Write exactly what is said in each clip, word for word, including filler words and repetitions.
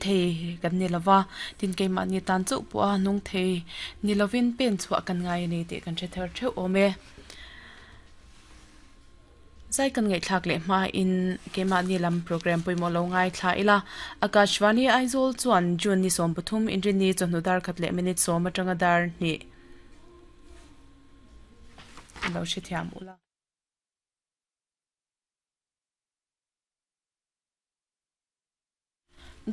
thei kan ni lova tin keimah ni tan chauh pawh a nung thei ni lovin pen chhuah kan ngai ani tih kan hre thar theuh awm e. Zai kan ngaih thlak leh hma in keimah ni lam program pawimawh lo ngai thla ila. Akashvani Aizawl chuan June ni sawm pathum inrini chawhnu dar khat leh minute sawm atanga dar hnih lo hrethiam ula.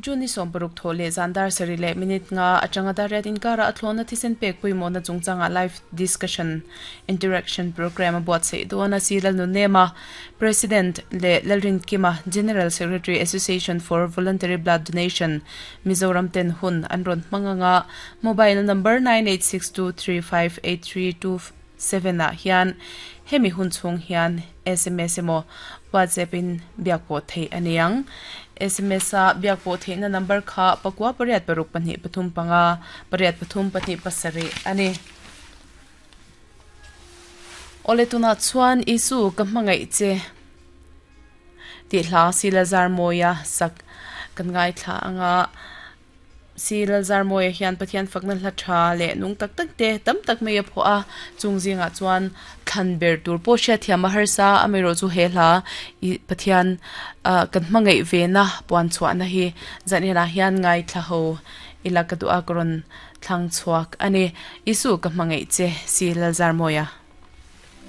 June ni sawm paruk thaw leh zan dar sarih leh minute nga atanga dar riat inkara a thlawna thisen pek pawimawhna chungchanga live discussion interaction program a buatsaih dawn a si Lalnunema President leh Lalrinkima General Secretary Association for Voluntary Blood Donation Mizoram ten hun an rawn hmang anga mobile number nine eight six two three five eight three two seven ah hian hemi hun chhung hian S M S emaw WhatsApp in biak pawh theih a ni ang. S M S a biak pawh theihna number kha pakua pariat paruk pahnih pathum panga pariat pathum pahnih pasarih a ni. Awle tunah chuan Isu ka hmangaih che tih hla si Lazar Mawia sak kan ngai thla anga si Lazar Mawia hian Pathian fakna hla tha leh nung tak tak te tam tak mai a phuah a chung zingah chuan thlan ber tur pawh hriat thiam a harsa a amaherawh chu he hla i Pathian kan hmangaih ve na puan chhuahna hi zanriah hian ngai thla ho ila ka duh a ka rawn thlang chhuak a ni. Isu ka hmangaih che si Lazar Mawia.